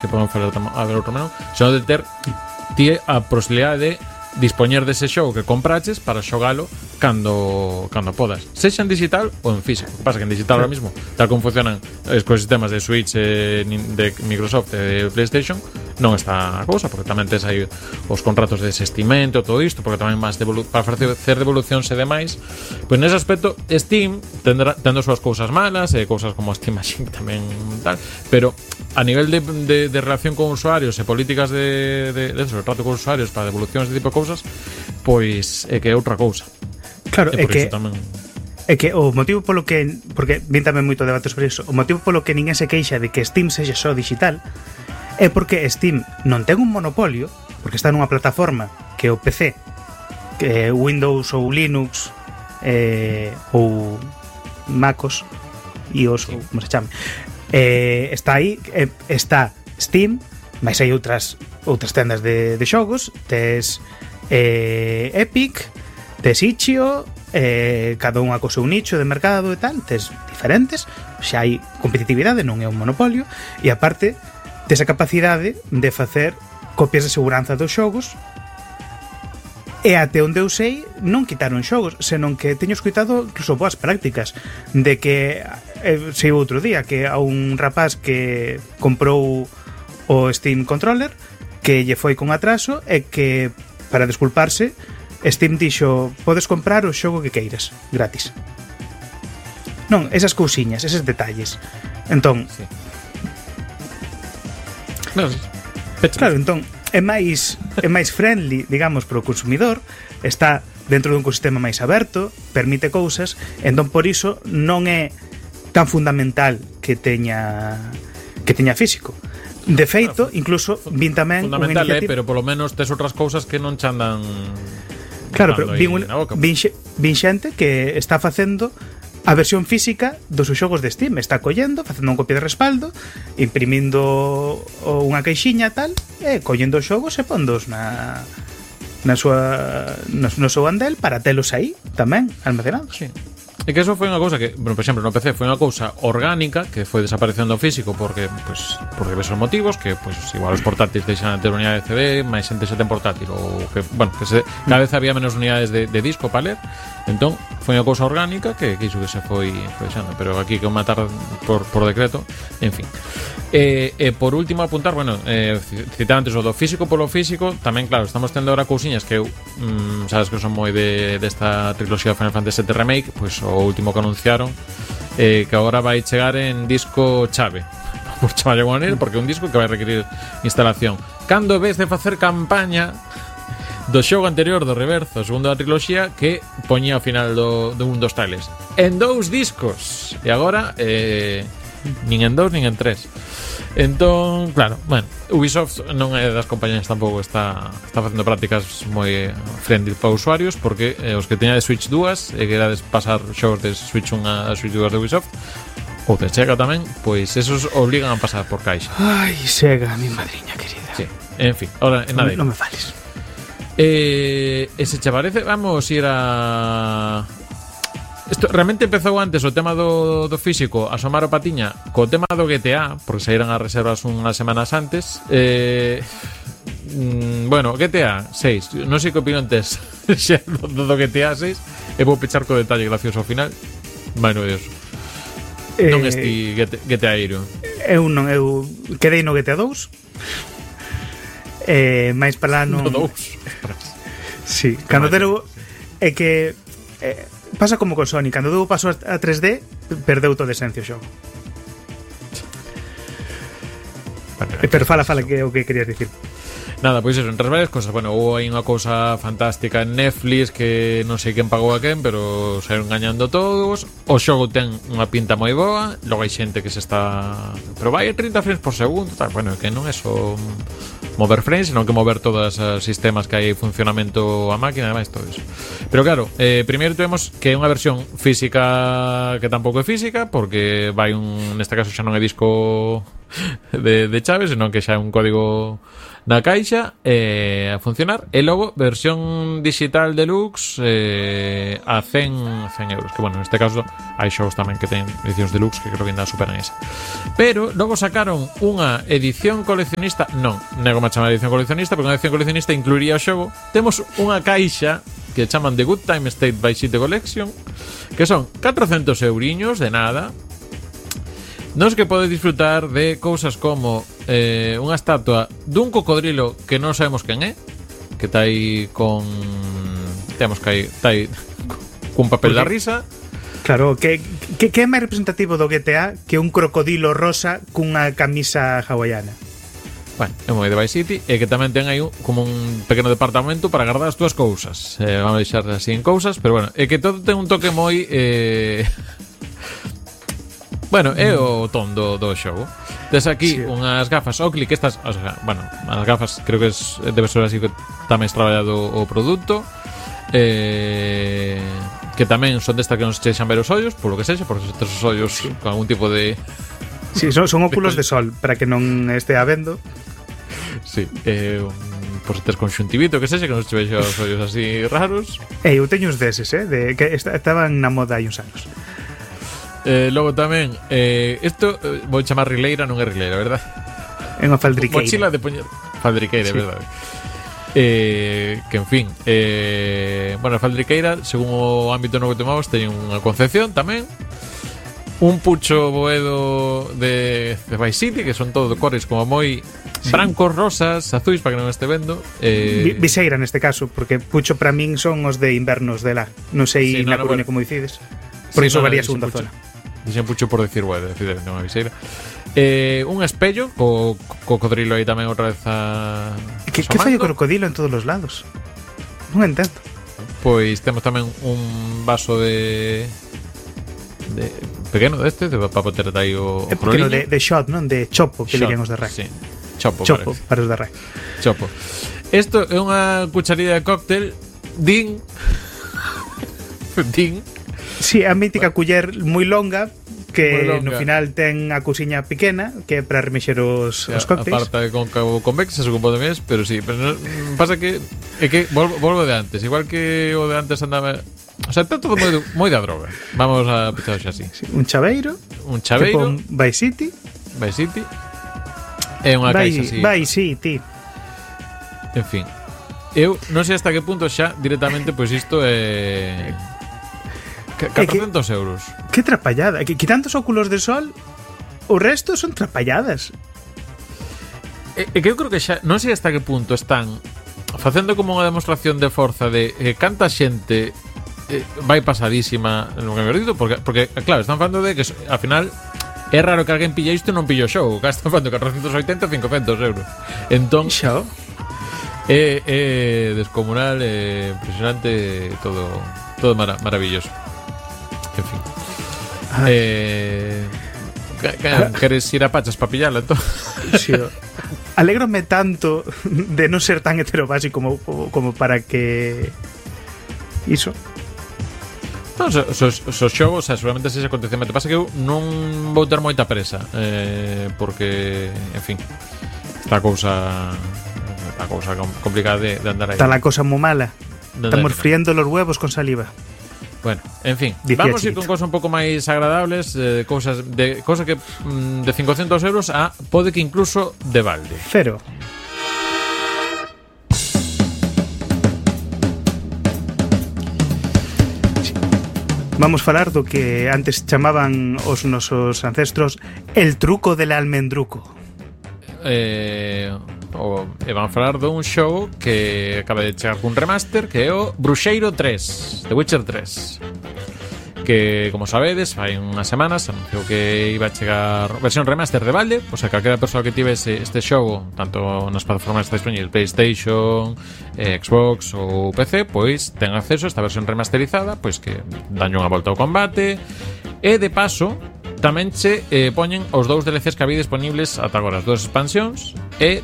que podemos falar a ver outro menú, senón de ter ti a posibilidade de dispoñer dese xogo que compraches para xogalo cando podas, sexa en digital ou en físico. O que pasa que en digital ahora mismo, tal como funcionan os ecosistemas de Switch, de Microsoft e de PlayStation, non está a cousa, porque tamén tes aí os contratos de desestimento, todo isto, porque tamén máis para facer devolucións e demais. Pois nese aspecto Steam tendo as súas cousas malas e cousas como Steam Machine tamén tal, pero a nivel de relación con usuarios e políticas de trato con usuarios para devolucións de tipo de cousas, pois é que é outra cousa. Claro, é que tamén... é que o motivo polo que, porque vin tamén moito debate sobre iso, o motivo polo que ninguén se queixa de que Steam sexa só digital é porque Steam non ten un monopolio, porque está nunha plataforma que é o PC, que é Windows ou Linux ou MacOS iOS, ou como se chame, está aí, está Steam, mas hai outras tendas de xogos, tes Epic, tes Itch.io, cada unha co seu nicho de mercado e tal, tes diferentes, xa hai competitividade, non é un monopolio, e aparte tes a capacidade de facer copias de seguranza dos xogos, e até onde eu sei non quitaron xogos, senón que teño escoitado incluso boas prácticas de que sei outro día que a un rapaz que comprou o Steam Controller que lle foi con atraso e que para desculparse Steam dixo, podes comprar o xogo que queiras, gratis. Non, esas cousiñas, eses detalles. Entón, sí. Claro, entón é máis friendly, digamos, para o consumidor, está dentro dun ecosistema máis aberto, permite cousas, entón por iso non é tan fundamental que teña físico. De feito, incluso vin tamén fundamental, pero polo menos tes outras cousas que non che andan. Claro, pero vin xente que está facendo a versión física dos xogos de Steam, está collendo, facendo un copia de respaldo, imprimindo unha caixinha tal, e collendo os xogos e pondos no seu andel para telos aí tamén almacenados. Sí. E que eso foi unha cousa que, bueno, por exemplo, no PC foi unha cousa orgánica que foi desaparecendo o físico porque diversos motivos, que pues igual os portátiles deixan de ter unidade de CD, máis xente se ten portátil ou que, bueno, que cada vez había menos unidades de disco para ler. Entón, foi unha cousa orgánica que iso que se foi deixando, pero aquí que matar por decreto, en fin. Por último apuntar, bueno, citar antes o do físico polo físico, tamén claro, estamos tendo ahora cousiñas que eu sabes que son moi desta triloxía Final Fantasy VII Remake, pois o último que anunciaron que agora vai chegar en disco chave, por chamarlle unha maneira, porque é un disco que vai requerir instalación. Cando vez de facer campaña do xogo anterior do Reverso, o segundo da triloxía, que poñía ao final do un dos tales en 2 discos, e agora nin en 2 nin en 3. Entón, claro, bueno, Ubisoft non é das compañías tampouco está facendo prácticas moi friendly para usuarios, porque os que teña de Switch 2 e querades pasar xogos de Switch 1 a Switch 2 de Ubisoft ou de Sega tamén, pois esos obligan a pasar por caixa. Ai, Sega, mi madriña querida. Sí, en fin, ahora en nada. Non me fales. Se che parece, vamos ir a... Isto realmente empezou antes o tema do físico, asomar o patiña co tema do GTA, porque saíran as reservas unhas semanas antes. Bueno, GTA 6, non sei que opinión tes do GTA 6, e vou pechar co detalle gracioso ao final. Bueno, Dios. Non esti GTA Hero. Eu quedei no GTA 2. Mais para lá non... No 2. Sí, cando tero é que pasa como con Sony, cando deu paso a 3D perdeu toda a esencia o xogo. Pero fala que é o que querías dicir. Nada, pois eso, entre as varias cosas. Bueno, houve aí unha cousa fantástica en Netflix que non sei quen pagou a quen, pero saíron gañando todos. O xogo ten unha pinta moi boa. Logo hai xente que se está... Pero vai a 30 frames por segundo tal. Bueno, que non é só mover frames, senón que mover todos os sistemas que hai funcionamento a máquina e demais, todo eso. Pero claro, primeiro temos que é unha versión física que tampouco é física, porque vai neste caso xa non é disco de chave, senón que xa é un código na caixa a funcionar. E logo, versión digital deluxe a 100 euros. Que bueno, neste caso hai xogos tamén que ten edicións deluxe que creo que ainda superan esa. Pero logo sacaron unha edición coleccionista. Non, nego me chamar edición coleccionista, porque unha edición coleccionista incluiría o xogo. Temos unha caixa que chaman The Good Time State by City Collection, que son 400 euriños de nada, nos que podes disfrutar de cousas como unha estatua dun cocodrilo que non sabemos quen é, que está aí con... Temos que está aí cun papel da risa. Claro, que é máis representativo do GTA que un crocodilo rosa cunha camisa hawaiana. Bueno, é moi de Vice City. E que tamén ten aí como un pequeno departamento para guardar as túas cousas. Vamos a deixar así en cousas, pero bueno, é que todo ten un toque moi... Bueno, é o ton do xogo. Tes aquí unhas gafas Oakley, que estas, o sea, bueno, as gafas creo que debe ser así que tamén traballado o produto, que tamén son desta que nos chexan ver os ollos, por lo que sexa, porque estes os ollos con algún tipo de... Sí, son óculos de sol, para que non estea vendo. Sí, por se tes conxuntivito, que sexa, que nos chexe os ollos así raros. Eu teño uns deses, que estaban na moda hai uns anos. Logo tamén isto vou chamar rileira, non é rileira, verdad? É unha faldriqueira. Mochila de poñer faldriqueira, sí. Verdade. Que en fin, bueno, a faldriqueira, según o ámbito no que tomamos, teñen unha concepción tamén. Un pucho boedo de Vice City, que son todo de cores como moi brancos, rosas, azuis, para que non este vendo. Viseira neste caso, porque pucho para min son os de invernos de lá. Non sei na Coruña como dicides. Por iso varía segunda zona. Dixen pucho por decir, bueno, decir unha viseira. Un espello co cocodrilo aí tamén outra vez a... Que fai o crocodilo en todos os lados? Non entendo. Pois temos tamén un vaso de pequeno deste, para poter aí o pequeno de shot, non? De chopo, que dirían os de RAC. Sí. Chopo para os de RAC. Chopo. Isto é unha cucharilla de cóctel Din. Sí, a mítica culler moi longa que no final ten a cousiña pequena que é para remexer os cócteles. A parte cóncavo convexa, se compone mes, pero sí, pero no, pasa que é que volvo de antes, igual que o de antes andaba, o sea, está todo moi da droga. Vamos a pensar así. Sí, un chaveiro, tipo Vice City. É unha caixa así. Vice City. En fin. Eu non sei hasta que punto xa directamente pois isto é 400 euros. Que trapallada. Quitando os óculos de sol, o resto son trapalladas. Que eu creo que xa non sei hasta que punto están facendo como unha demostración de forza de canta xente vai pasadísima no que me dito, porque claro, están falando de que ao final é raro que alguén pilla isto e non pilla o show. Que están falando 480 ou 500 euros. Entón xa é descomunal, impresionante, todo maravilloso. En fin. Queres ir a Pachas para pillala, entón? Sí, alégrome tanto de non ser tan heterobásico como para que iso. Non, os xogos, seguramente se acontecemento. Pasa que eu non vou ter moita presa, porque, en fin, está a cousa complicada de andar aí. Está la cosa moi mala. Estamos friendo los huevos con saliva. Bueno, en fin, vamos a ir con cosas un pouco máis agradables, cosas que de 500 euros a pode que incluso de balde. Cero. Vamos falar do que antes chamaban os nosos ancestros el truco del almendruco. Vamos falar dun xogo que acaba de chegar cun remaster, que é o Bruxeiro 3, The Witcher 3, que, como sabedes, fai unhas semanas anunciou que iba a chegar versión remaster de balde. O sea, calquera persoa que tivese este xogo, tanto nas plataformas disponibles PlayStation, Xbox ou PC, pois ten acceso a esta versión remasterizada, pois que danlle unha volta ao combate. E de paso tamén se poñen os 2 DLCs que había disponibles ata agora, as 2 expansións, e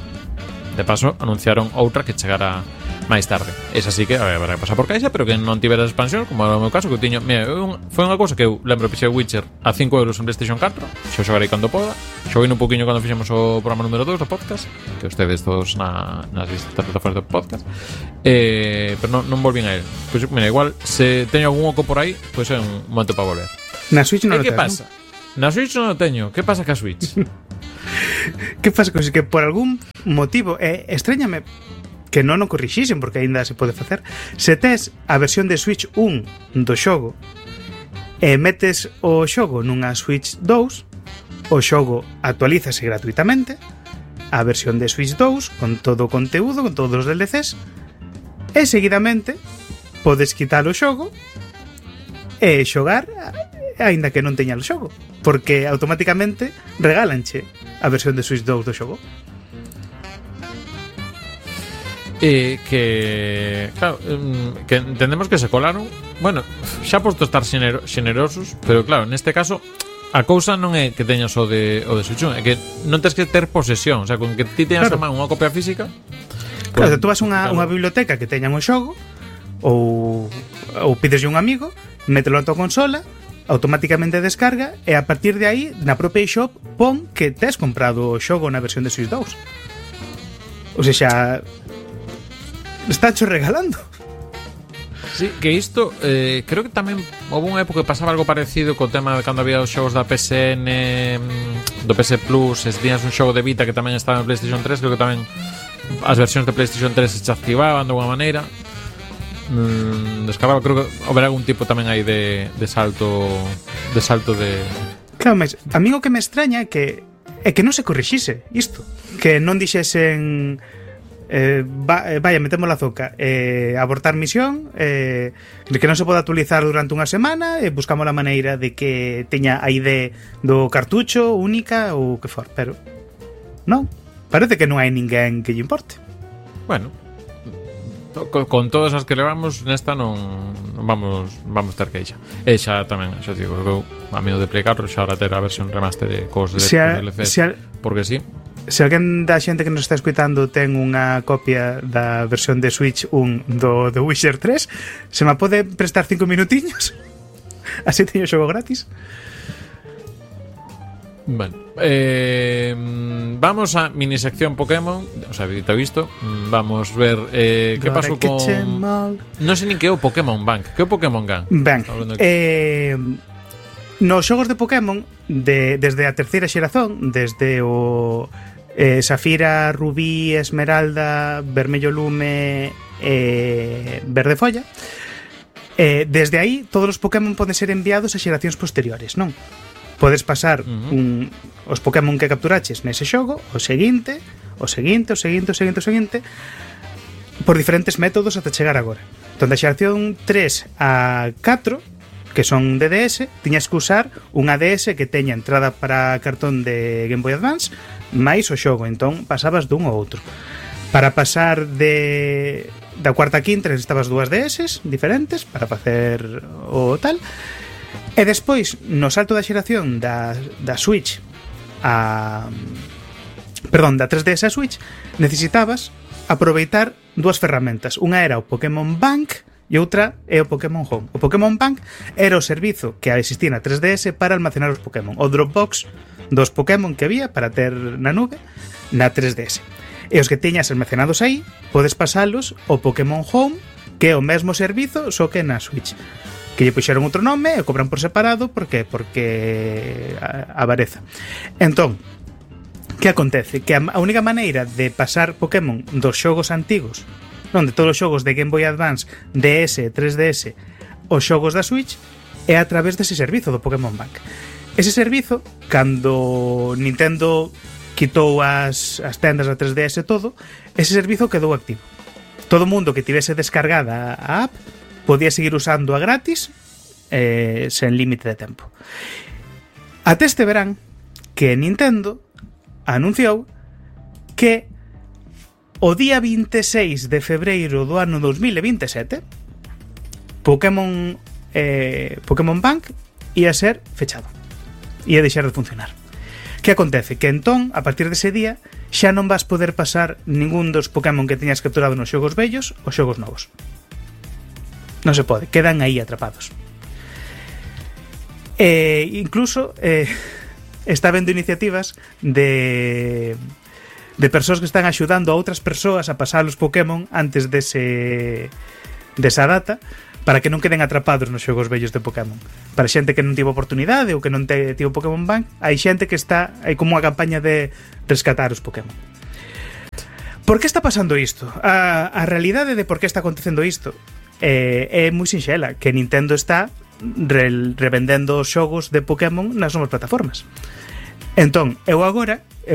de paso anunciaron outra que chegara máis tarde. Esa sí que habrá que pasar por caixa, pero que non tiveras expansión, como era o meu caso, que eu tiño, mira, foi unha cousa que eu lembro que pixei Witcher a 5 euros en PlayStation 4, xo xogarei cando poda, xoguei un poquinho cando fixemos o programa número 2 do podcast, que ustedes todos nas distintas plataformas do podcast, pero non volvín a él. Pois mira, igual se teño algún oco por aí, pois é un momento para volver. Na Switch non o que tengo. pasa? Na Switch non o teño. Que pasa ca Switch? Que pasa con que por algún motivo extrañame que non o corrixisen, porque aínda se pode facer. Se tes a versión de Switch 1 do xogo e metes o xogo nunha Switch 2, o xogo actualízase gratuitamente a versión de Switch 2 con todo o conteúdo, con todos os DLCs, e seguidamente podes quitar o xogo e xogar aínda que non teña o xogo, porque automáticamente regálanche a versión de Switch 2 do xogo. Claro, que entendemos que se colaron. Bueno, xa posto estar xenerosos, pero claro, neste caso a cousa non é que teñas o de Switch 1, é que non tens que ter posesión. O sea, con que ti teñas a man unha copia física, claro, tú vas a unha biblioteca que teñan o xogo, ou pideslle un amigo, mételo na tua consola, automáticamente descarga, e a partir de aí na propia eShop pon que tes comprado o xogo na versión de Switch 2. O sea, estácho regalando. Sí, que isto creo que tamén houve unha época que pasaba algo parecido co tema de cando había os xogos da PSN, do PS Plus, se tiñas un xogo de Vita que tamén estaba en PlayStation 3, creo que tamén as versións de PlayStation 3 se activaban de alguma maneira. Descargaba, creo que haberá algún tipo tamén aí de salto de... Claro, mas a mí o que me extraña é que non se corrixise isto, que non dixesen vaya, metemos la zoca, abortar misión, de que non se pode actualizar durante unha semana, buscamos a maneira de que teña a ID do cartucho única ou que for, pero non, parece que non hai ninguén que lle importe. Bueno, con todas as que levamos nesta non vamos ter queixa. E xa tamén, xa digo, eu a mí o de Play 4 xa ahora ter a versión remaster de cos DLCs, porque sí. Se alguén da xente que nos está escuitando ten unha copia da versión de Switch 1 do The Witcher 3, se me pode prestar 5 minutiños? Así teño xogo gratis. Bueno, vamos a mini sección Pokémon. O sea, dito isto, vamos ver que pasou con... Non sei nin que é o Pokémon Bank. Que é o Pokémon Bank? Nos xogos de Pokémon desde a terceira xeración, desde o Safira, Rubí, Esmeralda, Vermello Lume e Verde Folla, desde aí todos os Pokémon poden ser enviados a xeracións posteriores, non? Podes pasar os Pokémon que capturaches nese xogo o seguinte por diferentes métodos ata chegar agora. Entón, da xeración 3 a 4, que son DDS, tiñas que usar unha DS que teña entrada para cartón de Game Boy Advance máis o xogo, entón pasabas dun ao outro. Para pasar da cuarta a quinta necesitabas dúas DS diferentes para facer o tal. E despois, no salto da xeración da Switch da 3DS a Switch, necesitabas aproveitar dúas ferramentas. Unha era o Pokémon Bank e outra é o Pokémon Home. O Pokémon Bank era o servizo que existía na 3DS para almacenar os Pokémon, o Dropbox dos Pokémon que había para ter na nube na 3DS. E os que teñas almacenados aí, podes pasalos ao Pokémon Home, que é o mesmo servizo, só que na Switch, que lle puxeron outro nome e cobran por separado porque avareza. Entón, que acontece? Que a única maneira de pasar Pokémon dos xogos antigos, non, de todos os xogos de Game Boy Advance, DS, 3DS, os xogos da Switch, é a través dese servizo do Pokémon Bank. Ese servizo, cando Nintendo quitou as tendas da 3DS e todo, ese servizo quedou activo. Todo o mundo que tivese descargada a app podía seguir usando a gratis sen límite de tempo. Até este verán que Nintendo anunciou que o día 26 de febreiro do ano 2027 Pokémon Bank ia ser fechado, ia deixar de funcionar. Que acontece? Que entón, a partir dese día, xa non vas poder pasar ningún dos Pokémon que teñas capturado nos xogos vellos ou xogos novos. Non se pode, quedan aí atrapados. Incluso está vendo iniciativas de persoas que están axudando a outras persoas a pasar os Pokémon antes desa data, para que non queden atrapados nos xogos vellos de Pokémon. Para xente que non tivo oportunidade ou que non tivo Pokémon Bank, hai xente que hai como unha campaña de rescatar os Pokémon. Por que está pasando isto? A realidade de por que está acontecendo isto é moi sinxela, que Nintendo está revendendo os xogos de Pokémon nas novas plataformas. Entón, eu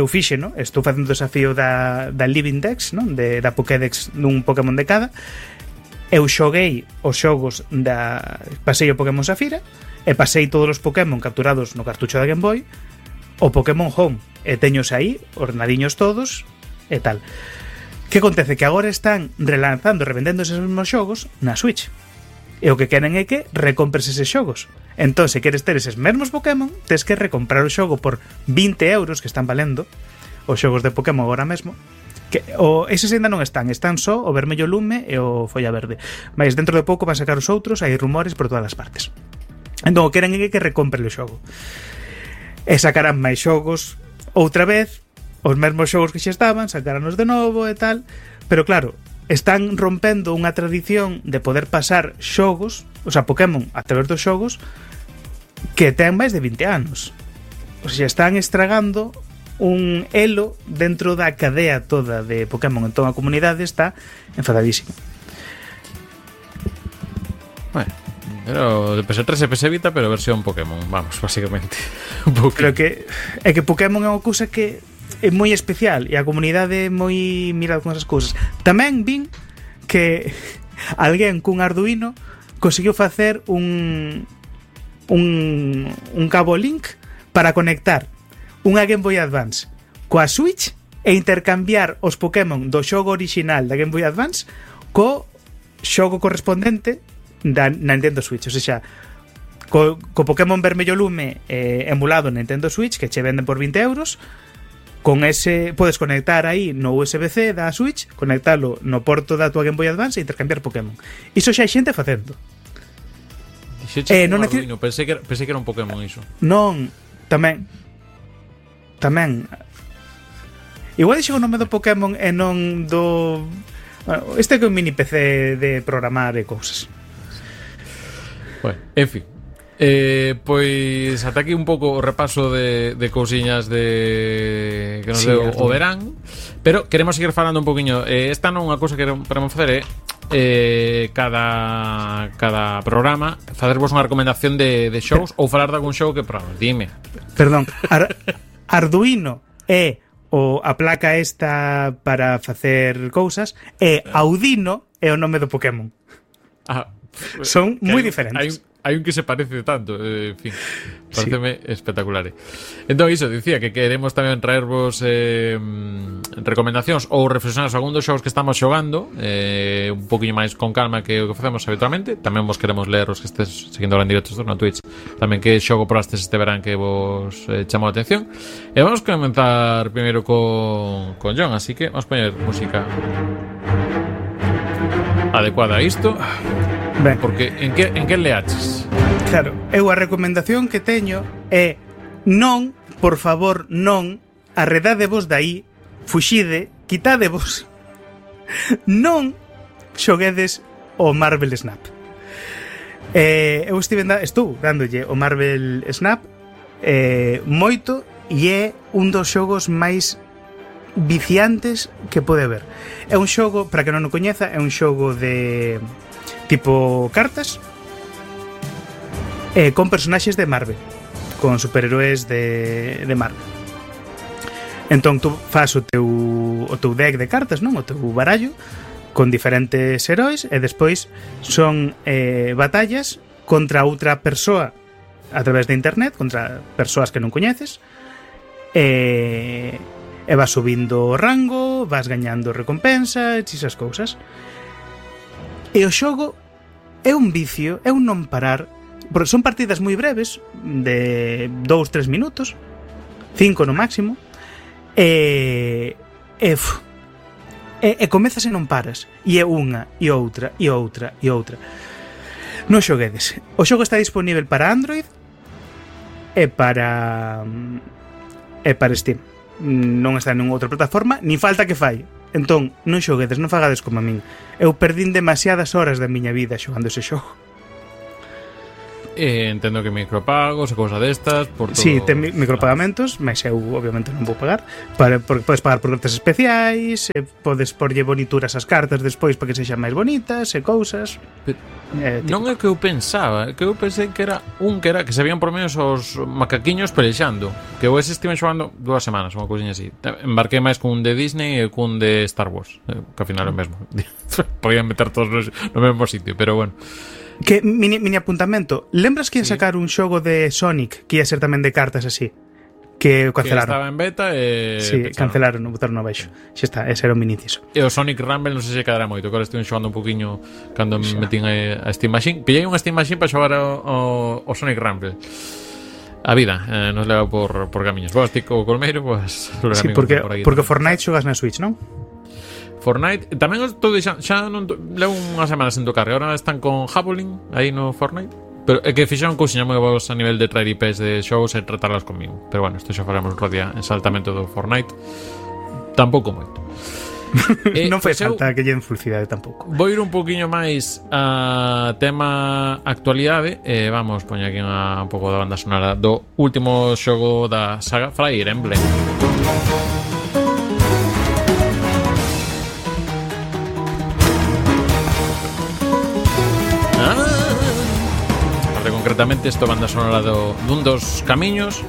fixe, no? Estou facendo o desafío da Living Dex, no? Da Pokédex dun Pokémon de cada. Eu xoguei os xogos pasei o Pokémon Safira e pasei todos os Pokémon capturados no cartucho da Game Boy o Pokémon Home, e teños aí ordenadiños todos e tal. Que acontece? Que agora están relanzando, revendendo eses mesmos xogos na Switch, e o que queren é que recompres eses xogos. Entón, se queres ter eses mesmos Pokémon, tes que recomprar o xogo por 20 euros, que están valendo os xogos de Pokémon agora mesmo. Eses ainda non están só o vermello lume e o folla verde, mas dentro de pouco van sacar os outros, hai rumores por todas as partes. Entón o queren é que recompre o xogo e sacarán máis xogos outra vez, os mesmos xogos que xa estaban sacarános de novo e tal, pero claro, están rompendo unha tradición de poder pasar xogos, o sea, Pokémon a través dos xogos que ten máis de 20 anos. O sea, están estragando un elo dentro da cadea toda de Pokémon. Entón a comunidade está enfadadísima. Bueno, pero de PS3 e PS Vita, pero versión Pokémon, vamos, básicamente. Creo que é que Pokémon é unha cousa que é moi especial e a comunidade é moi mirada con esas cousas. Tamén vin que alguén cun Arduino conseguiu facer un cabo link para conectar unha Game Boy Advance coa Switch e intercambiar os Pokémon do xogo original da Game Boy Advance co xogo correspondente da Nintendo Switch. O sea, co Pokémon vermello lume emulado na Nintendo Switch, que che venden por 20 euros, con ese podes conectar aí no USB-C da Switch, conectalo no porto da tua Game Boy Advance e intercambiar Pokémon. Iso xa hai xente facendo. Non pensei que era un Pokémon iso. Non, tamén igual dixo o nome do Pokémon e non do... Bueno, este é un mini PC de programar e cousas. Bueno, en fin, pois ata aquí un pouco o repaso de cousiñas que nos deu o verán. Pero queremos seguir falando un poquinho. Esta non é unha cousa que queremos facer cada programa facervos unha recomendación de shows ou falar de algún show que probamos. Dime. Perdón, Arduino é a placa esta para facer cousas e Audino é o nome do Pokémon. Son moi diferentes. Hai un que se parece tanto, en fin, pareceme espectacular. Entón, iso, dicía que queremos tamén traervos recomendacións ou reflexionar algún dos xogos que estamos xogando un poquinho máis con calma que o que facemos habitualmente. Tamén vos queremos ler os que estés seguindo en directos no Twitch, tamén que xogo prostes este verán que vos chamou a atención. E vamos comenzar primeiro con John, así que vamos poñer música adecuada a isto. Ben. Porque en que leaches? Claro, eu a recomendación que teño é non, por favor, non arredadevos dai, fuxide, quitadevos, non xoguedes o Marvel Snap. Eu estou dándolle o Marvel Snap moito e é un dos xogos máis viciantes que pode haber. É un xogo, para que non o coñeza, é un xogo de tipo cartas con personaxes de Marvel, con superhéroes de Marvel. Entón tú fas o teu deck de cartas, non? O teu barallo con diferentes heróis e despois son batallas contra outra persoa a través de internet, contra persoas que non coñeces, e vas subindo o rango, vas gañando recompensas e esas cousas. E o xogo é un vicio, é un non parar, porque son partidas moi breves, de 2-3 minutos, 5 no máximo, e e comezas e non paras, e é unha, e outra, e outra, e outra. Non xoguedes. O xogo está disponível para Android e para Steam. Non está en outra plataforma, ni falta que fai. Entón, non xoguedes, non fagades como a min. Eu perdín demasiadas horas da miña vida xogando ese xogo. Entendo que micropagos e cousas destas por todo... Sí, ten micropagamentos, mas eu obviamente non vou pagar porque podes pagar por cartas especiais, podes porlle bonituras ás cartas despois para que sexan máis bonitas e cousas. Non é que eu pensaba, que eu pensei que era que se habían por menos os macaquiños pelexando, que eu ese estive xogando 2 semanas, unha cousinha así. Embarquei máis cun de Disney e cun de Star Wars, que ao final é o mesmo. Podían meter todos no mesmo sitio, pero bueno. Que mini apuntamento, lembras que ia sacar un xogo de Sonic que ia ser tamén de cartas así? Que cancelaron. Que estaba en beta e sí, cancelaron, botaron abaixo. Xa está, ese era o mini inciso. E o Sonic Rumble non sei se quedará moito, que ahora estive xogando un poquinho cando me metín a Steam Machine. Pillei unha Steam Machine para xogar o Sonic Rumble. A vida nos leva por camiños. Vos, tico o colmeiro, pues... Sí, porque Fortnite xogas na Switch, non? Fortnite, tamén estou deixando, xa non levo unhas semanas sen tocar, e agora están con Javelin aí no Fortnite, pero é que fixeron cousiñas moi boas a nivel de traer IPs de xogos e tratarlas conmigo, pero bueno, isto xa faremos outro día en saltamento do Fortnite, tampouco moito. Non foi falta que lle den felicidade tampouco. Vou ir un poquinho máis a tema actualidade e vamos poñer aquí un pouco da banda sonora do último xogo da saga Fire Emblem. Concretamente isto banda sonora dun dos camiños.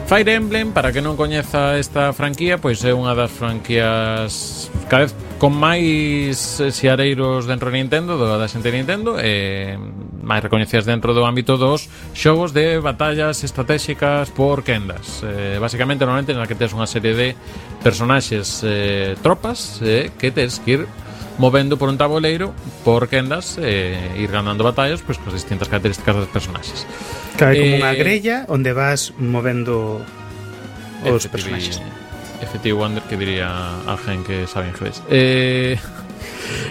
Fire Emblem, para que non coñeza esta franquía, pois é unha das franquías cada vez con máis xiareiros dentro de Nintendo, da xente de Nintendo, e máis recoñecidas dentro do ámbito dos xogos de batallas estratégicas por quendas. Basicamente, normalmente, na que tens unha serie de personaxes, tropas, que tens que ir movendo por un tabuleiro por quendas e ir ganando batallas pois con distintas características dos personaxes. Claro, como unha grella onde vas movendo os personaxes. Effective Wonder, que diría alguén que sabe inglés.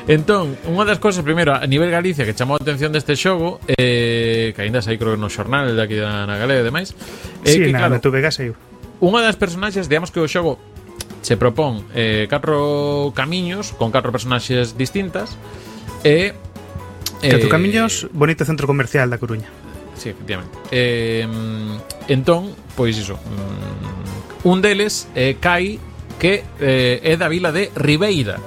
Entón, unha das cousas, primeiro, a nivel Galicia que chamou a atención deste xogo, que aínda sai creo que no xornal de aquí na Galega e demais, sí, que claro, na TVG saiu. Unha das personaxes, digamos que o xogo se propón 4 camiños con 4 personaxes distintas e 4 camiños, bonito centro comercial da Coruña. Sí, efectivamente. Entón, pois iso, un deles é Kai, que é da vila de Ribeira.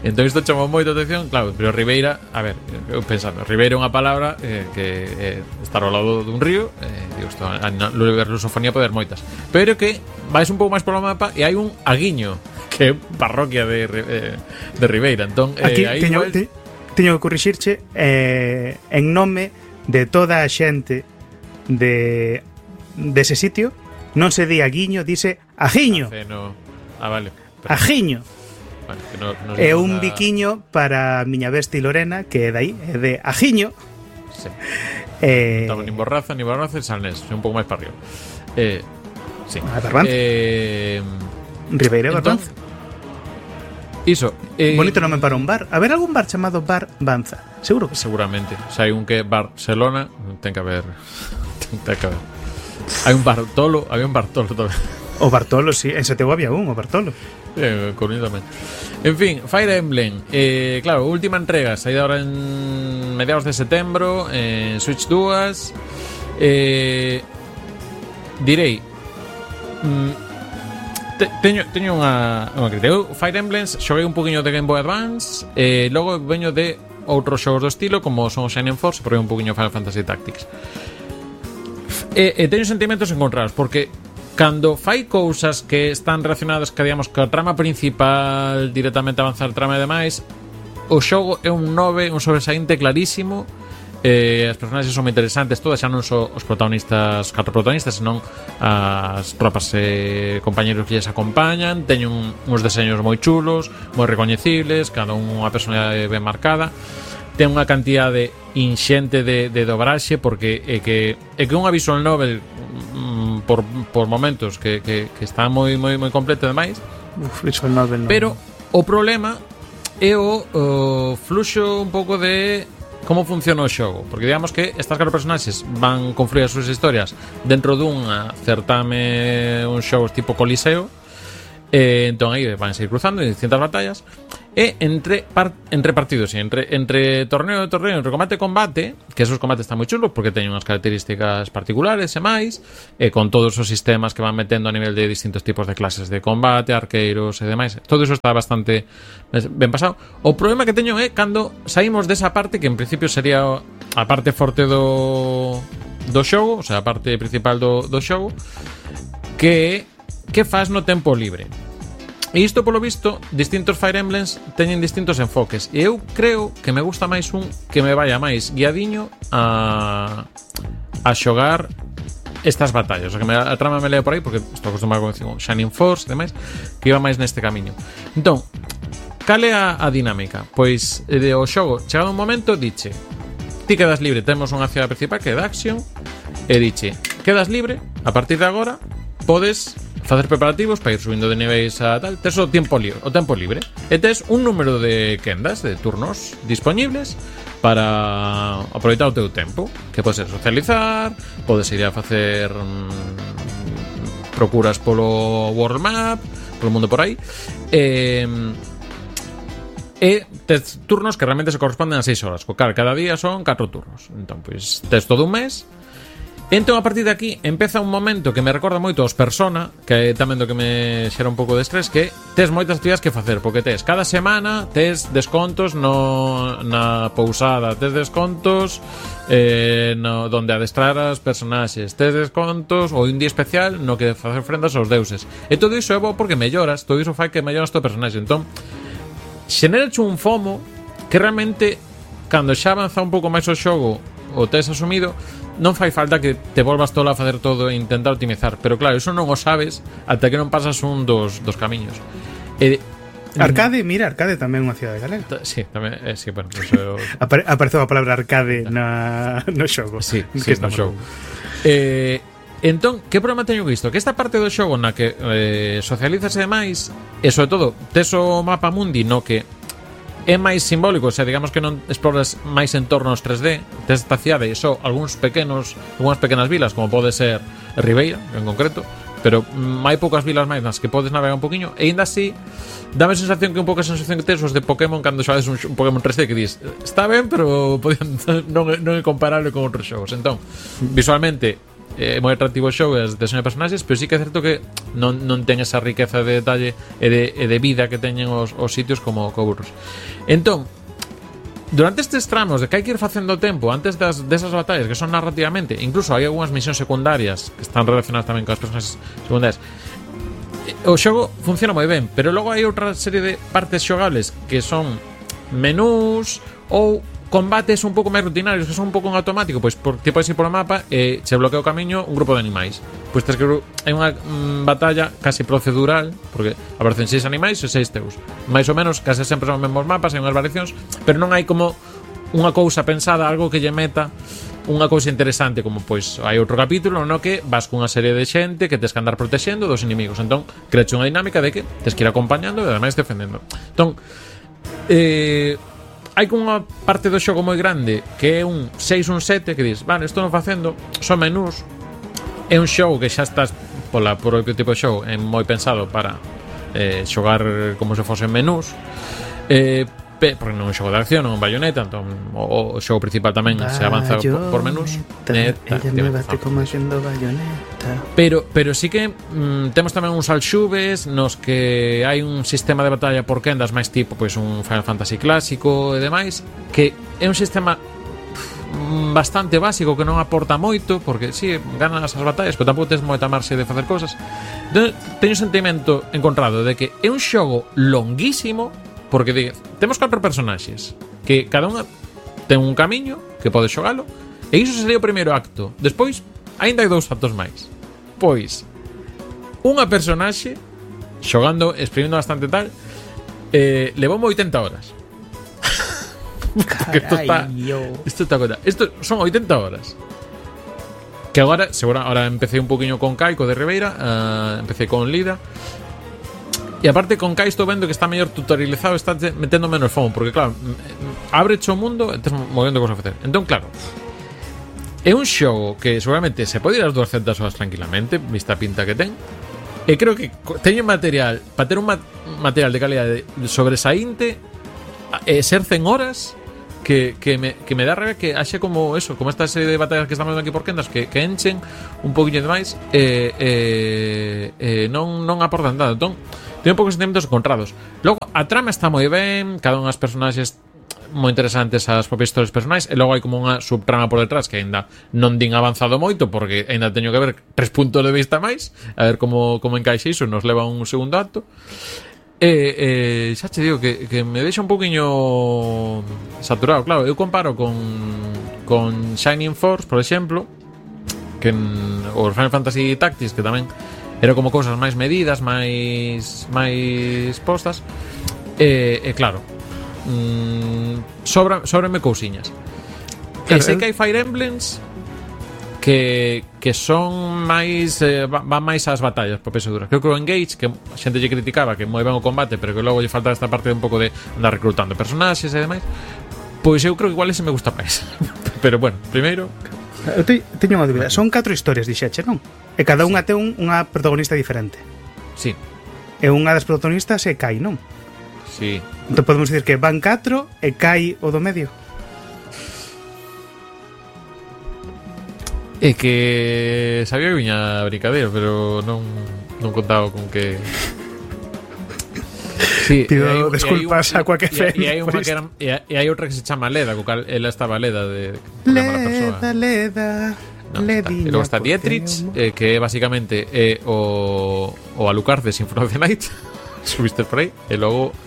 Entón isto chamou moito atención, claro, pero Ribeira, a ver, eu pensando, Ribeira é unha palabra que estar ao lado dun río, digo, isto, a lusofonía pode haber moitas, pero que vais un pouco máis polo mapa e hai un Aguiño, que é parroquia de Ribeira. Entón, aquí teño que corrixirche, en nome de toda a xente dese sitio, non se di Aguiño, dice Ajiño. Vale. Ajiño. Bueno, que no é un biquiño para a miña besti Lorena, que é dai, é de Ajiño. Sí. Estaba nin Borraza, e Salnés, un pouco máis para arriba. Sí. Barbanza. Ribeira Barbanza. Iso. Bonito nome para un bar. A ver algún bar chamado Bar Banza? Seguro que sí. Seguramente. Se hai un que Barcelona, ten que haber. Hai un Bartolo, había un Bartolo tamén. O Bartolo, sí, en Seteu había un, o Bartolo. Coruña tamén. En fin, Fire Emblem, claro, última entrega, saída ahora en mediados de setembro, en Switch 2. Direi, teño unha crítica. Eu Fire Emblem xoguei un poquinho de Game Boy Advance, logo veño de outros xogos do estilo, como son o Shining Force, porque un poquinho Final Fantasy Tactics. Teño sentimentos encontrados, porque cando fai cousas que están relacionadas digamos, ca trama principal, directamente avanzar trama e demais, o xogo é un 9, un sobresaínte clarísimo. As personaxes son moi interesantes todas, xa non só os protagonistas, 4 protagonistas, senón as tropas e compañeros que lles acompañan. Teñen uns deseños moi chulos, moi recoñecibles, cada unha personalidade ben marcada. Ten unha cantidade inxente de dobraxe, porque é que unha visual novel por momentos que está moi completa e demais, Visual novel non. Pero o problema é o fluxo un pouco de como funciona o xogo, porque digamos que estas 4 personaxes van confluir as súas historias dentro dunha certame, un xogo tipo Coliseo. Entón aí van a seguir cruzando en distintas batallas, e entre partidos, entre torneo e torneo, entre combate e combate, que esos combates están moi chulos porque teñen unhas características particulares e máis, e con todos os sistemas que van metendo a nivel de distintos tipos de clases de combate, arqueiros e demais. Todo iso está bastante ben pasado. O problema que teño é cando saímos desa parte que en principio sería a parte forte do xogo, o sea, a parte principal do xogo, que faz no tempo libre. E isto, polo visto, distintos Fire Emblems teñen distintos enfoques. E eu creo que me gusta máis un que me vaya máis guiadiño a xogar estas batallas. O sea, que a trama me lea por aí, porque estou acostumado con Shining Force e demais, que iba máis neste camiño. Entón, cal é a dinámica? Pois, o xogo, chegado un momento, diche: ti quedas libre, temos unha cidade principal que é de Action, e diche: quedas libre, a partir de agora podes facer preparativos para ir subindo de niveis a tal. Tes o tempo libre e tes un número de quendas, de turnos disponibles para aproveitar o teu tempo, que pode ser socializar, podes ir a facer procuras polo world map, polo mundo por aí, e tes turnos que realmente se corresponden a 6 horas. Cada día son 4 turnos. Entón, pois, tes todo un mes. Entón, a partir de aquí, empeza un momento que me recorda moito aos Persona, que é tamén do que me xera un pouco de estrés, que tes moitas actividades que facer, porque tes cada semana tes descontos na pousada, tes descontos donde adestrar as personaxes, tes descontos ou un día especial no que facer ofrendas aos deuses. E todo iso é bo porque melloras, todo iso fai que melloras o personaxe. Entón, xenerache un FOMO que realmente, cando xa avanza un pouco máis o xogo, o tes asumido, non fai falta que te volvas todo a facer todo e intentar optimizar. Pero claro, iso non o sabes ata que non pasas un dos camiños. Arcade, mira, Arcade tamén é unha cidade galega. Sí, tamén, sí, bueno, pues, apareceu a palabra arcade no xogo. Sí, no xogo. Entón, que problema teño isto? Que esta parte do xogo na que socializas e demais, e sobre todo tes o mapa mundi no que é máis simbólico, o sea, digamos que non exploras máis entornos 3D, tes esta cidade e só algunhas pequenas vilas, como pode ser Ribeira, en concreto, pero hai poucas vilas máis nas que podes navegar un poquinho, e ainda así dame a sensación que un pouco a sensación que tes os de Pokémon cando xogas un Pokémon 3D, que dis, está ben, pero non é comparable con outros xogos. Entón, visualmente é moi atractivo o xogo e as deseño de personaxes, pero sí que é certo que non ten esa riqueza de detalle e de vida que teñen os sitios como Burros. Entón, durante estes tramos de que hai que ir facendo tempo antes desas batallas que son narrativamente, incluso hai algunhas misións secundarias que están relacionadas tamén con as personaxes secundarias, o xogo funciona moi ben, pero logo hai outra serie de partes xogables que son menús ou combates un pouco máis rutinarios, que son un pouco en automático, pois ti podes ir polo mapa e che bloquea o camiño un grupo de animais. Pois tes que hai unha batalla casi procedural, porque aparecen 6 animais e 6 teus. Mais ou menos, case sempre son os mesmos mapas, hai unhas variacións, pero non hai como unha cousa pensada, algo que lle meta unha cousa interesante, como pois hai outro capítulo no que vas cunha serie de xente que tes que andar protexendo dos inimigos. Entón, creache unha dinámica de que tes que ir acompañando e ademais defendendo. Entón, hai unha parte do xogo moi grande que é un 6, un 7, que dis, vale, estou non facendo, son menús. É un xogo que xa estás por o propio tipo de xogo, é moi pensado para xogar como se fosen menús, porque non é un xogo de acción, non é un Bayonetta. Entón o xogo principal tamén se avanza por menús. Ella me bate como sendo Bayonetta. Pero sí que temos tamén uns alxubes nos que hai un sistema de batalla por quendas máis tipo pois un Final Fantasy clásico e demais, que é un sistema bastante básico que non aporta moito, porque si ganas as batallas, pero tampouco tes moita marxe de facer cosas. Entón, teño un sentimento encontrado de que é un xogo longuísimo, porque temos 4 personaxes que cada unha ten un camiño que pode xogalo, e iso sería o primeiro acto. Despois, aínda hai 2 actos máis. Pois, unha personaxe xogando, exprimindo bastante tal, levou 80 horas. Isto son 80 horas. Que agora empecé un poquinho con Kaiko de Ribeira, empecé con Lida. E aparte con Kai estou vendo que está mellor tutorializado, está metendo menos fomo, porque claro, abreche o mundo e estás movendo cosas a facer. Entón, claro, é un xogo que seguramente se pode ir as 200 horas tranquilamente, vista a pinta que ten. E creo que teño material para ter un material de calidade sobresaínte, ser 100 horas que me dá rabia que haxe como eso, como esta serie de batallas que estamos vendo aquí por Kendas que enchen un poquinho de máis non aportan nada. Entón, teño un pouco de sentimentos encontrados. Logo, a trama está moi ben, cada unha das personaxes moi interesantes, as propias historias personais, e logo hai como unha subtrama por detrás que ainda non din avanzado moito porque ainda teño que ver 3 puntos de vista máis, a ver como encaixe iso, nos leva un segundo acto. Xa te digo que me deixa un poquinho saturado. Claro, eu comparo con Shining Force, por exemplo, que o Final Fantasy Tactics, que tamén era como cousas máis medidas, máis postas, claro, sobrame cousiñas. Claro, sei que hai Fire Emblems que son máis van máis ás batallas por peso duras. Creo que o Engage, que a xente lle criticaba que moi ben o combate, pero que logo lle falta esta parte de un pouco de andar reclutando personaxes e demais, pois eu creo que igual ese me gusta máis. Pero bueno, primeiro eu teño unha dúbida. Son 4 historias, dixeche, non? E cada unha ten unha protagonista diferente. Sí. E unha das protagonistas é Kai, non? Sí. Entón podemos dicir que van 4 e Kai o do medio. É que sabía que viña a brincadeira, pero non contaba con que... Sí, pido desculpas a Quack FM. E hai outra que se chama Leda, co cal ela estaba Leda de Leda. No, e logo está Dietrich, que é basicamente o Alucard de Symphony of the Night. Subiste por aí. E logo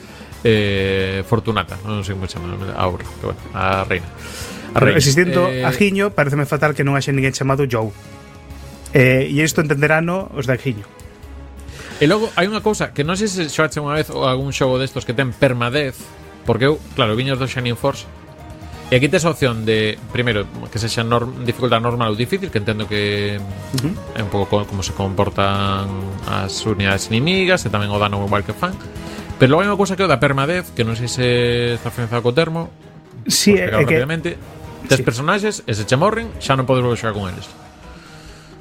Fortunata, non sei como chama ahora, pero bueno, a reina. Existindo Ajiño, pareceme fatal que non haxe ninguén chamado Joe. E isto entenderano os de Ajiño. E logo hai unha cousa que non sei se xoache unha vez ou algún xogo destos que ten permadez, porque eu, claro, viños do Shining Force. E aquí tes a opción de, primeiro, que sexa dificultad normal ou difícil, que entendo que é un pouco como se comportan as unidades inimigas e tamén o dano igual que fan. Pero logo hai unha cousa que é o da permadez, que non sei se está afianzado co termo. Sí, é que tes personaxes e se che morren, xa non podes volver a xogar con eles.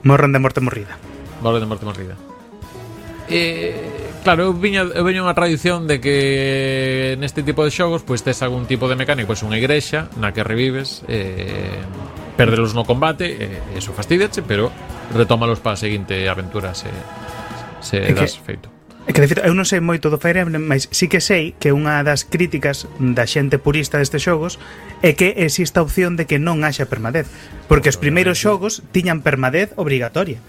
Morren de morte morrida. Morren de morte morrida. Claro, eu veño unha tradición de que neste tipo de xogos pois tes algún tipo de mecánico, pois unha igrexa na que revives, perdelos no combate, eso fastidiache, pero retómalos para a seguinte aventura se das feito. É que, de feito, eu non sei moito do Fire Emblem, mas sí que sei que unha das críticas da xente purista destes xogos é que existe a opción de que non haxa permadez, porque os primeiros xogos tiñan permadez obrigatoria.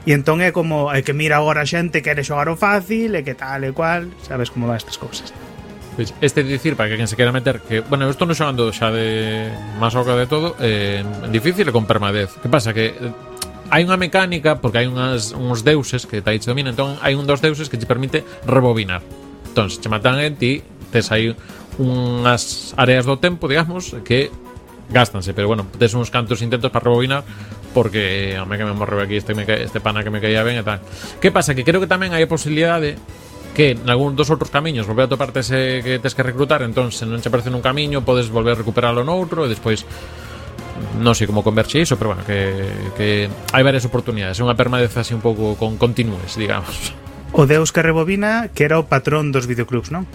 E entón é como, é que mira agora a xente quere xogar o fácil e que tal e cual, sabes como van estas cousas. Pois este dicir, para que quen se quera meter, que, bueno, eu estou non xogando xa de máis oca de todo, difícil e con permadez. Que pasa? Que hai unha mecánica, porque hai uns deuses que Taichi domina, entón hai un dos deuses que te permite rebobinar. Entón, se te matan en ti, tes aí unhas áreas do tempo, digamos, que gástanse, pero bueno, tes uns cantos intentos para rebobinar, porque a mí que me morreu aquí este pana que me caía ben e tal. Que pasa? Que creo que tamén hai a posibilidade que en algún dos outros camiños volver a toparte ese que tes que reclutar, entón se non che aparece nun camiño podes volver a recuperalo noutro e despois non sei como converxe iso, pero bueno, que hai varias oportunidades. É unha permadez así un pouco con continúes, digamos. O deus que rebobina, que era o patrón dos videoclubs, non?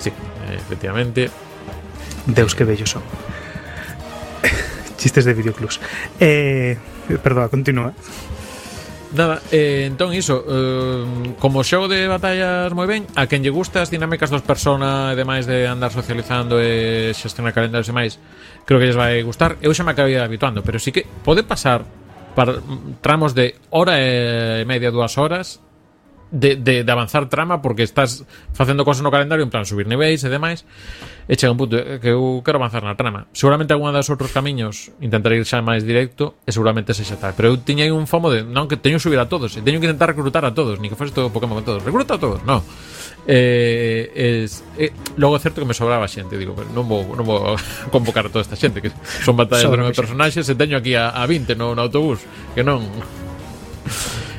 Sí, efectivamente. Deus que bellos son. Chistes de videoclubs. Perdón, continúa. Nada, entón iso, como xogo de batallas moi ben, a quen lle gusta as dinámicas dos persona e demais de andar socializando e xestionar calendarios e máis, creo que lles vai gustar. Eu xa me acabei habituando, pero sí que pode pasar para tramos de hora e media, 2 horas de avanzar trama, porque estás facendo cosas no calendario, en plan subir niveis e demais, e chega un punto que eu quero avanzar na trama. Seguramente algunha dos outros camiños intentarei ir xa máis directo e seguramente se xa tal, pero eu tiña aí un fomo de non, que teño que subir a todos e teño que intentar reclutar a todos, ni que fose todo Pokémon con todos, recluta a todos, non. Logo é certo que me sobraba xente, digo, pero non vou convocar a toda esta xente, que son batallas de 9 personaxes e teño aquí a 20 no autobús, que non.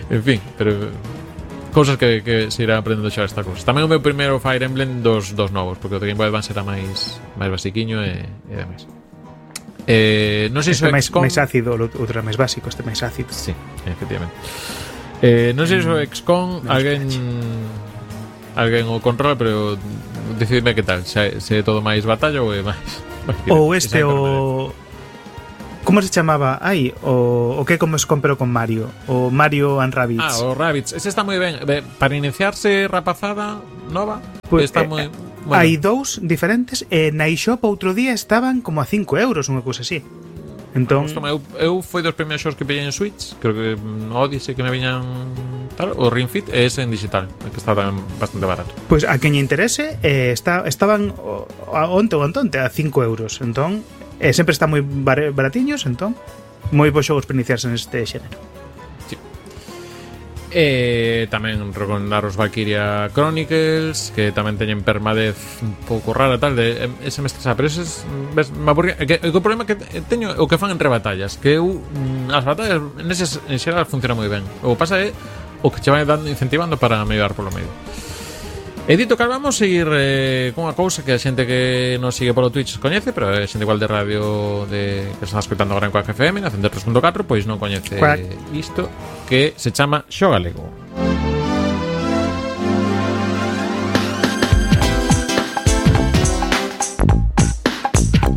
En fin, pero cousas que se irá aprendendo xa esta cousa. Tamén o meu primeiro Fire Emblem dos novos, porque o de Game Boy Advance era máis basiquiño e demais. Non sei se máis ácido, outro era máis básico, este máis ácido. Sí, efectivamente. Non sei se o XCOM alguén o controla, pero decidime que tal, se é todo máis batalla ou é máis ou este o... Como se chamaba? O que como se comprou con Mario? O Mario and Rabbids. O Rabbids. Ese está moi ben. Para iniciarse rapazada nova, pues, está moi... Hai dous diferentes e na eShop outro día estaban como a 5 euros, unha cousa así. Entón, eu foi dos primeiros xogos que pillei en Switch. Creo que Odyssey que me viñan tal, o Ring Fit e ese en digital, que está bastante barato. Pois a quen lle interese, estaban onte a 5 euros. Entón, sempre están moi baratiños, entón moi bons xogos para iniciarse neste xénero. Sí. Tamén recomendar os Valkyria Chronicles, que tamén teñen permadez un pouco rara tal de ese me estresa, pero ese me aburría, o problema que teño o que fan entre batallas, que as batallas neses en xeral funciona moi ben. O pasa é o que che vai dando incentivando para mellorar polo medio. E dito que vamos seguir con unha cousa que a xente que nos sigue polo Twitch coñece, pero a xente igual de radio que está escutando agora en Quack FM na 103.4, pois non coñece isto, que se chama Xogalego.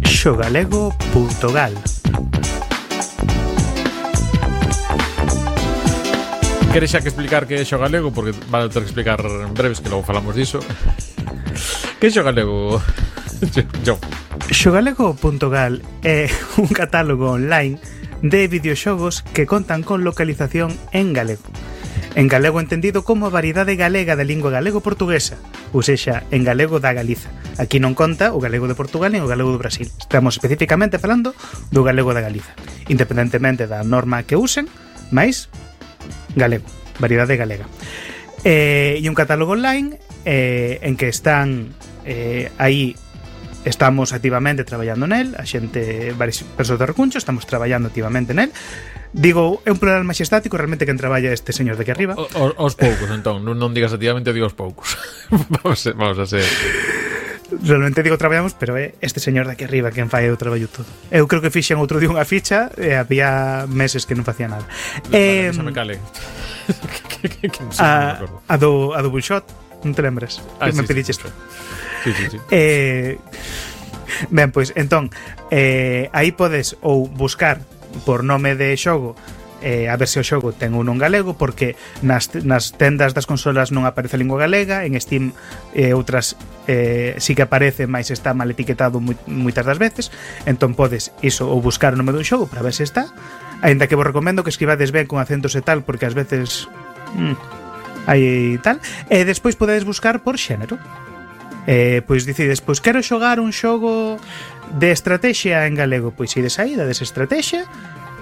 Xogalego.gal. Queres xa que explicar que é Xogalego? Porque vale ter que explicar en breves, que logo falamos diso. Que é Xogalego? Xogalego.gal é un catálogo online de videoxogos que contan con localización en galego. En galego entendido como a variedade galega da lingua galego-portuguesa, ou sexa, en galego da Galiza. Aquí non conta o galego de Portugal nin o galego do Brasil. Estamos especificamente falando do galego da Galiza, independentemente da norma que usen, máis galego, variedade galega. E un catálogo online en que están aí estamos activamente traballando nel, a xente, varias persoas do Recuncho, estamos traballando activamente nel. Digo, é un plural majestático, realmente quen traballa este señor de aquí arriba. Os poucos, entón, non digas activamente, digo os poucos. vamos a ser... Realmente digo traballamos, pero é este señor de aquí arriba quen fai o traballo todo. Eu creo que fixen outro día unha ficha e había meses que non facía nada. Xa me cale. A do Bullshot, non te lembras? Que me pediches tú. Sí. Ben, pois, entón, aí podes ou buscar por nome de xogo, a ver se o xogo ten un non galego, porque nas tendas das consolas non aparece a lingua galega, en Steam outras sí que aparece, mas está mal etiquetado moitas das veces. Entón podes iso, ou buscar o nome dun xogo para ver se está, aínda que vos recomendo que escribades ben con acentos e tal, porque ás veces hai tal. E despois podedes buscar por xénero. Pois decides, pois quero xogar un xogo de estrategia en galego, pois ides aí, dades estrategia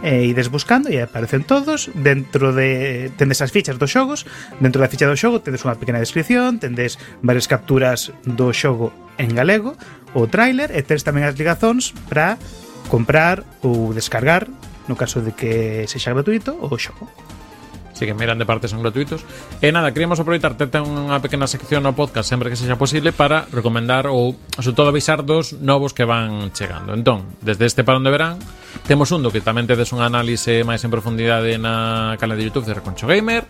e ides buscando e aparecen todos. Dentro de tendes as fichas dos xogos, dentro da ficha do xogo tendes unha pequena descripción, tendes varias capturas do xogo en galego, o tráiler, e tendes tamén as ligazóns para comprar ou descargar, no caso de que sexa gratuito, o xogo. Así que miran de parte son gratuitos. E nada, queríamos aproveitar ter unha pequena sección no podcast sempre que sexa posible para recomendar ou, sobre todo, avisar dos novos que van chegando. Entón, desde este parón de verán temos un do que tamén tedes un análise máis en profundidade na canal de YouTube de Reconcho Gamer,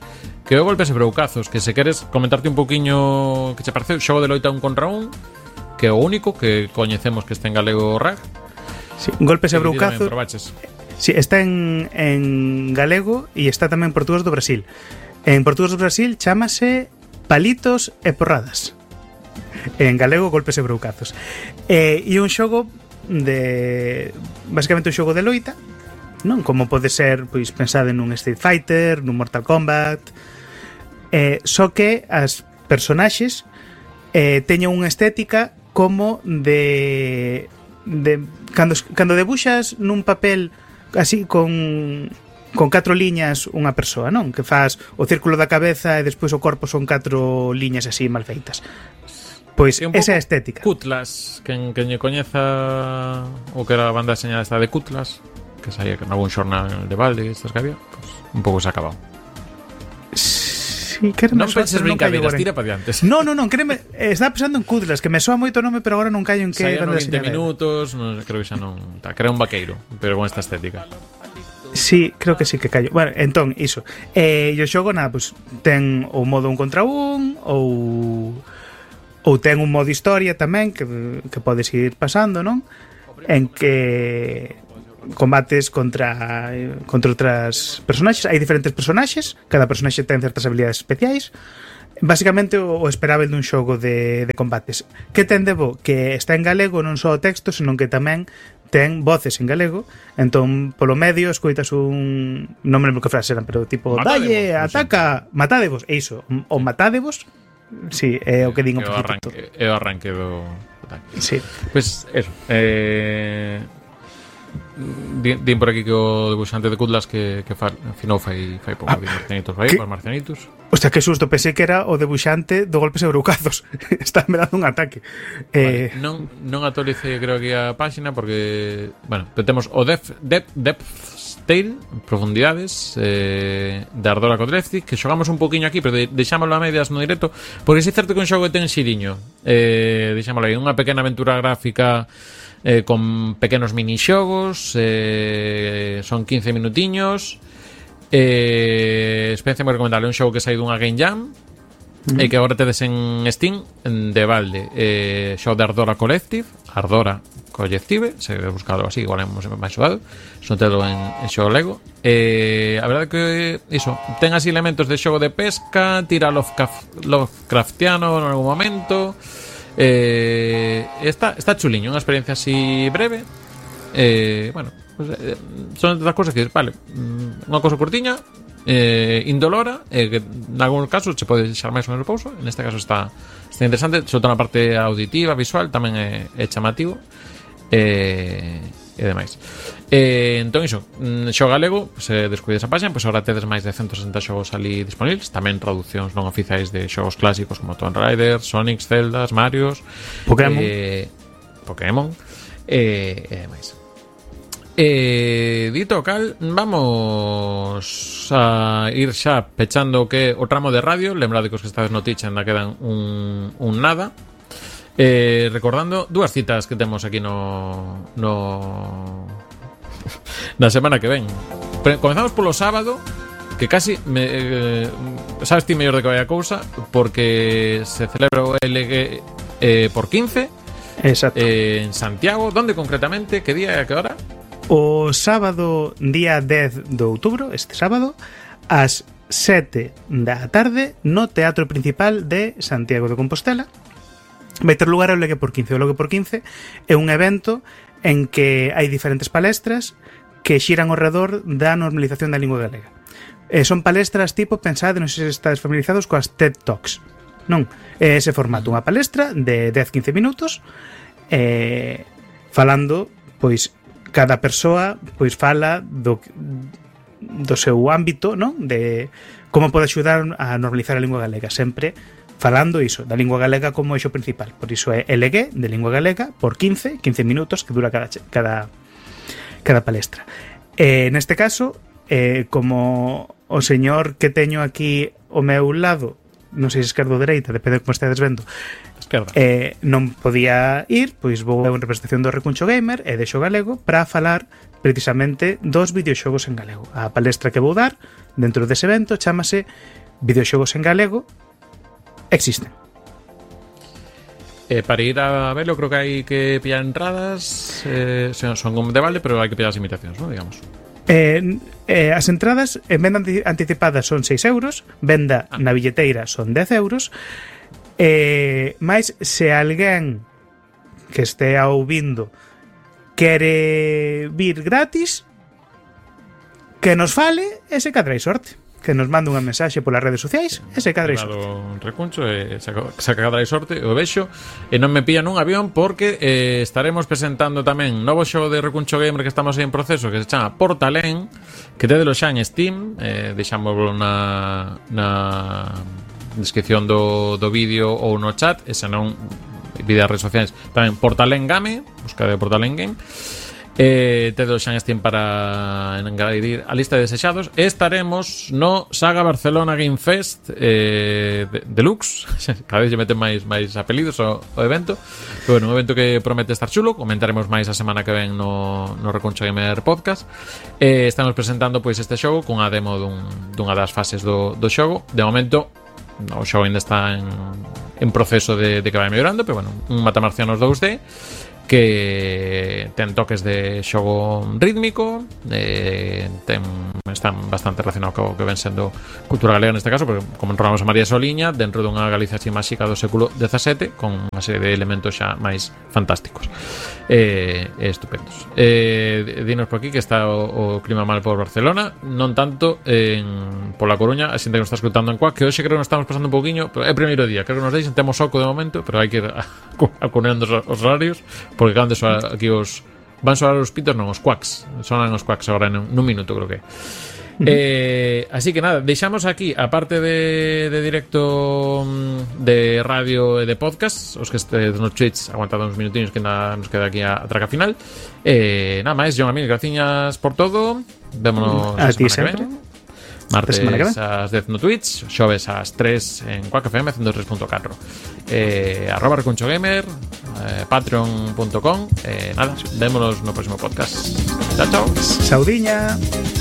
que é o Golpes e Broucazos, que se queres comentarte un poquinho que che pareceu o xogo de loita 1 contra 1, que é o único que coñecemos que este en galego RAG. Sí, Golpes e Broucazos. Sí, está en galego e está tamén en portugués do Brasil. En portugués do Brasil chámase Palitos e Porradas. En galego, Golpes e Broucazos. E un xogo de... basicamente un xogo de loita, non? Como pode ser, pois, pensado en un Street Fighter, nun Mortal Kombat. Só que as personaxes teñen unha estética como de cando debuxas nun papel así con 4 liñas unha persoa, non? Que faz o círculo da cabeza e despois o corpo son 4 liñas así mal feitas. Pois esa é a estética. Cutlas, quen lle coñeza o que era a banda deseñada esta de Cutlas, que saía en algún xornal de balde, estas que había, pues, un pouco se ha acabado. Sí, non penses brincadeiras, tira para diante. Non, créeme, estaba pensando en Kudlas, que me soa moito o nome, pero agora non callo en que banda 20 minutos, non, creo que xa non, creo un vaqueiro, pero con esta estética. Sí, creo que sí que callo. Bueno, entón, iso. E o xogo, nada, pues, ten o modo 1 contra 1 ou ten un modo historia tamén que podes ir pasando, non? En que combates contra outras personaxes. Hai diferentes personaxes, cada personaxe ten certas habilidades especiais. Básicamente o esperável dun xogo de combates. Que ten de bo? Que está en galego, non só o texto, senón que tamén ten voces en galego. Entón, polo medio, escoitas un... non me lembro que frase eran, pero tipo dalle, ataca, matádevos. E iso, o matádevos, sí, é o que din o principio. É o arranque do... Sí. Pois, eso. Din por aquí que o debuxante de Kudlas que afinou fai pouco de Marcianitos vai para Marcianitos. Hostia, que susto, pensei que era o debuxante do Golpes Eurucazos. Está me dando un ataque. Vale, non actualicei creo que a páxina porque, bueno, temos o Depth Tale, Profundidades de Ardora Kodrevci, que xogamos un poquinho aquí, pero deixámoslo a medias no directo, porque é certo que un xogo ten xiriño. Deixámoslo aí, unha pequena aventura gráfica con pequenos minixogos, son 15 minutiños. Experiencia moi recomendable, un xogo que sai dunha Game Jam e que agora tedes en Steam de balde. Xogo de Ardora Collective, se buscado así, igual hemos máis xogado, son telo en xogo Lego. A verdade que iso, ten así elementos de xogo de pesca, tira Lovecraftiano en algún momento. Está chuliño, unha experiencia así breve. Bueno, pues, son das cosas que, vale, unha cosa curtiña, indolora, que en algún caso se pode deixar máis o menos pouso. En este caso está interesante, sobre todo na parte auditiva, visual, tamén é chamativo e demais. Entón iso, xogo galego, se descuides a página, pois agora tedes máis de 160 xogos ali disponibles, tamén traduccións non oficiais de xogos clásicos como Tomb Raider, Sonic, Zeldas, Marios, Pokémon e demais. Dito cal, vamos a ir xa pechando que o tramo de radio. Lembrade que os que estades no Twitch ainda quedan un nada. Recordando dúas citas que temos aquí na semana que ven. Comezamos polo sábado, que casi sabes ti mellor de que vai a cousa, porque se celebra o LG por 15. Exacto. En Santiago. Donde concretamente? Que día e a que hora? O sábado, día 10 de outubro, este sábado, ás 7 da tarde, no Teatro Principal de Santiago de Compostela. Vai ter lugar o LG por 15. O LG por 15 é un evento en que hai diferentes palestras que xiran ao redor da normalización da lingua galega. Son palestras tipo, pensade, non sei se estades familiarizados coas TED Talks. Non, é ese formato, unha palestra de 10-15 minutos falando, pois, cada persoa pois fala do seu ámbito, non? De como pode axudar a normalizar a lingua galega, sempre falando iso, da lingua galega como eixo principal. Por iso é LG, de lingua galega, por 15 minutos que dura cada palestra. Neste caso, como o señor que teño aquí ao meu lado, non sei se esquerdo ou dereita, depende de como estedes vendo, non podía ir, pois vou en representación do Recuncho Gamer e de Xo Galego para falar precisamente dos videoxogos en galego. A palestra que vou dar dentro dese evento chámase Videoxogos en Galego Existen. Para ir a verlo creo que hai que pillar entradas, son de balde, pero hai que pillar as invitacións, ¿no? Digamos. As entradas en venda anticipada son 6 euros, venda na billeteira son 10 euros. Mais se alguén que este ouvindo quere vir gratis, que nos fale e se cadra sorte, que nos mande unha mensaxe polas redes sociais e se cadra sorte. Recuncho e se cadra sorte, o vexo e non me pilla nun avión porque estaremos presentando tamén novo xogo de Recuncho Gamer que estamos aí en proceso, que se chama Portalén, que tédelo xa en Steam. Deixámoslo na descripción do vídeo ou no chat, e se non, vídeos redes sociais tamén, Portalén Game, busca de Portalén Game. Tedo xa en Steam para engadir a lista de desexados. Estaremos no Saga Barcelona Game Fest Deluxe. Cada vez lle meten máis apelidos ao evento. Pero bueno, un evento que promete estar chulo. Comentaremos máis a semana que ven no Reconcho Gamer Podcast. Estamos presentando pois este xogo cunha demo dunha das fases do xogo. De momento o xogo ainda está en proceso de que vai mellorando, pero bueno, un Matamarcianos 2D que ten toques de xogo rítmico, están bastante relacionado co que ven sendo cultura galega neste caso, porque como enrolamos a María Soliña dentro dunha Galicia así máxica do século XVII con unha serie de elementos xa máis fantásticos estupendos. Dinos por aquí que está o clima mal por Barcelona, non tanto pola Coruña, a xente que nos está escutando en Cuac, que hoxe creo que nos estamos pasando un pouquiño, pero é o primeiro día, creo que nos deixen, temos soco de momento, pero hai que ir acuneando os horarios, porque acaban de soar aquí van soar os pitos, non, os quacks. Sonan os quacks agora nun minuto, creo que. Así que nada, deixamos aquí, aparte de directo de radio e de podcast, os que estedes no Twitch aguantado uns minutinos que nos queda aquí a traca final. Nada máis, John Amil, graciñas por todo. Vémonos a semana que ven. Martes ás 10 no Twitch, xoves ás 3 en Quack FM 103.4. @ReconchoGamer, patreon.com. Nada, vémonos no próximo podcast. Chao, chao. Saudiña.